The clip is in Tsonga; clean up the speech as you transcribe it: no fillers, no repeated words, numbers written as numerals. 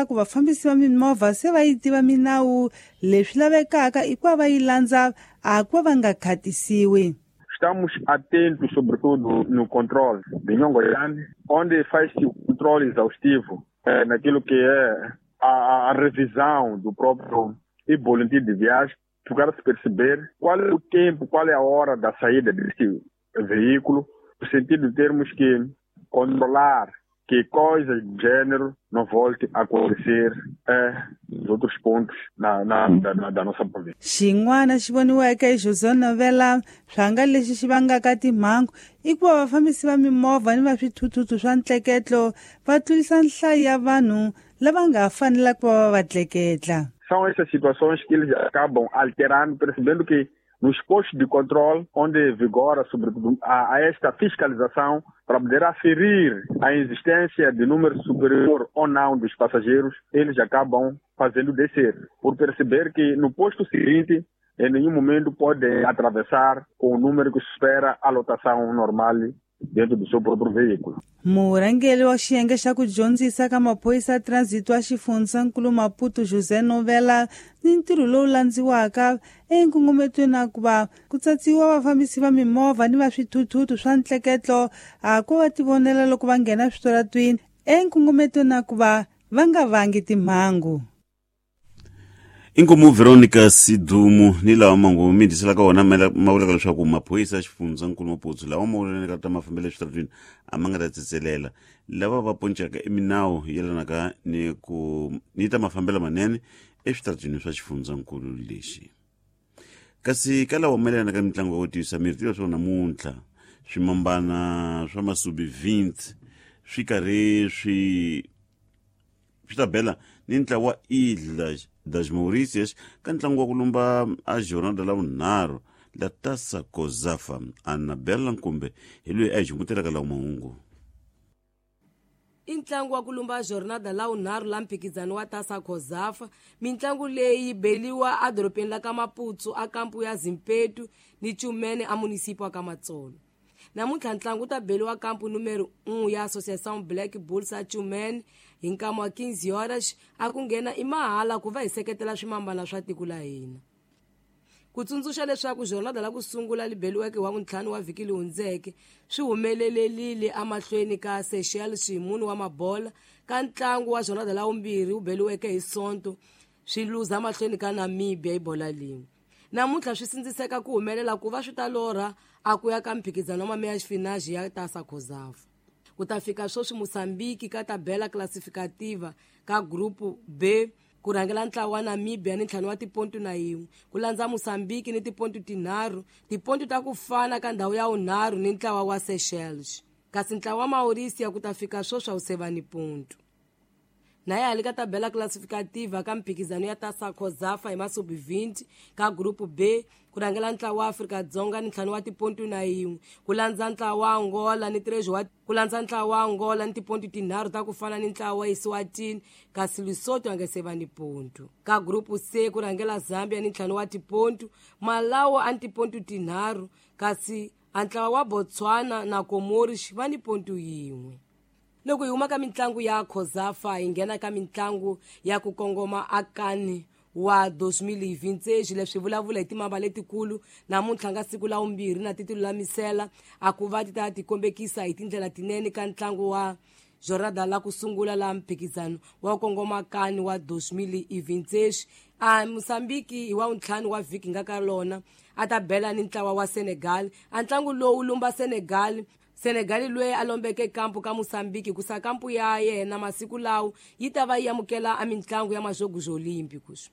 Leswaku vafambisi va mimovha se va yi tiva minawu, leswi lavekaka i ku va va yi landza, a ku va va nga khatisiwi. Estamos atentos, sobretudo, no controle de Nhongoiane, onde faz-se o controle exaustivo naquilo que é a revisão do próprio e-boletim de viagem, para se perceber qual é o tempo, qual é a hora da saída deste veículo, no sentido de termos que controlar que coisas do gênero não volte a acontecer nos outros pontos da nossa província. Xin'wana xi voniweke hi José Novela swanga lexi xi vangaka timhangu i ku va vafambisi va mimovha ni va swithuthuthu swa ntleketlo va tlurisa nhlayo ya vanhu lava nga fanelaka ku va va va tleketla. São essas situações que eles acabam alterando, percebendo que nos postos de controle, onde vigora, sobretudo, a esta fiscalização, para poder aferir a existência de número superior ou não dos passageiros, eles acabam fazendo descer, por perceber que no posto seguinte, em nenhum momento podem atravessar com o número que supera a lotação normal dentro do seu próprio veículo. Murhangeri wa xiyenge xa ku dyondzisa ka maphorisa ya transit wa xifundzankulu Maputo José Novela ni ntirho lowu landziwaka enkungumetweni na ku va ku tsatsiwa vafambisi va mimovha ni va swithuthuthu swa ntleketlo a ku va tivonela loko va nghena switoratwini enkungumetweni na ku va va nga vangi timhangu. Inkomu Veronica Sidumu ni lawa mangu mi dyisela wona ma vulaka leswaku maphorisa ya xifundzankulu Maputo lawa ma vulelaka ta mafambelo eswitaratwini a ma nga ta tsetselela lava va poncaka i minawu yelanaka ni ku ni ta mafambelo manene eswitaratwini swa xifundzankulu lexi. Kasi ka lawa mayelana ka mitlangu ya ku tiyisa miri, tiva leswaku namuntlha swimambana swa masubi 20 swi karhi swi ta bela ni ntlawa Ilha das Mauritius ka ntlangu wa ku lumba a jornada la vunharhu la Taça Cosafa. Annabella Nkumbe hi loyi a hi xungutelaka lawa mahungu. I ntlangu wa ku lumba jornada la vunharhu la mphikizano wa Taça Cosafa. Mintlangu leyi yi beliwa edorobeni la ka Maputo a kampu ya Zimpetu ni Chumene a munisipi wa ka Matsolo. Namuntlha ntlangu wu ta beliwa kampu numero 1 ya Associação Black Bulls a Chumene hi nkama wa 15 horas, a ku nghena i mahala ku va hi seketela swimambana swa tiko la hina. Ku tsundzuxa leswaku jornada la ku sungula li beliweke wa vuntlhanu wa vhiki li hundzeke swi humelelelile emahlweni ka Seychelles hi mune wa mabola, ka ntlangu wa jornada la vumbirhi wu beliweke hi Sonto swi luza mahlweni ka Namibia hi bola lin'we. Namuntlha swi sindziseka ku humelela ku va swi ta lorha a ku ya ka mphikizano wa mameya xifinaji ya Taça Cosafa. Ku ta fika sweswi Mozambique ka tabela classificativa ka group B ku rhangela ntlawa wa Namibia ni 5 wa tipontu na 1, ku landza Mozambique ni tipontu 3, tipontu ta ku fana ka ndhawu ya vunharhu ni ntlawa wa Seychelles. Kasi ntlawa wa Mauritius ku ta fika sweswi a wu se va ni pontu. Na ya hali ka tabela classificativa ka mphikizano ya Taça Cosafa hi masubi 20 ka group B ku rhangela ntlawa wa Afrika-Dzonga ni 5 wa tipontu na 1, ku landza ntlawa wa Angola ni 3 wa ku landza ntlawa wa Angola ni tipontu 3 ta ku fana ni ntlawa wa Eswatini, kasi Lesotho a nga se va ni pontu. Ka group C ku rhangela Zambia ni 5 wa tipontu, Malawi a ni tipontu 3, kasi a ntlawa wa Botswana na Comoros va ni pontu 1. Loko hi huma ka mitlangu ya Cosafa hi nghena ka mitlangu ya ku kongoma akani wa 2026. Leswi vulavula hi timamba letikulu namuntlha nga siku la vumbirhi na ti tilulamisela a ku va ti ta tikombekisa hi tindlela tinene ka ntlangu wa jornada la ku sungula la mphikizano wa kongoma kani wa 2026. A Mozambique hi wa vuntlhanu wa vhiki nga ka lona a ta bela ni ntlawa wa Senegal. A ntlangu lowu lumba Senegal, Senegal loyi a lombeke kampu ka Mozambique ku sa kampu ya yena masiku lawo yi ta va yi amukela a mitlangu ya majogo Olímpicos.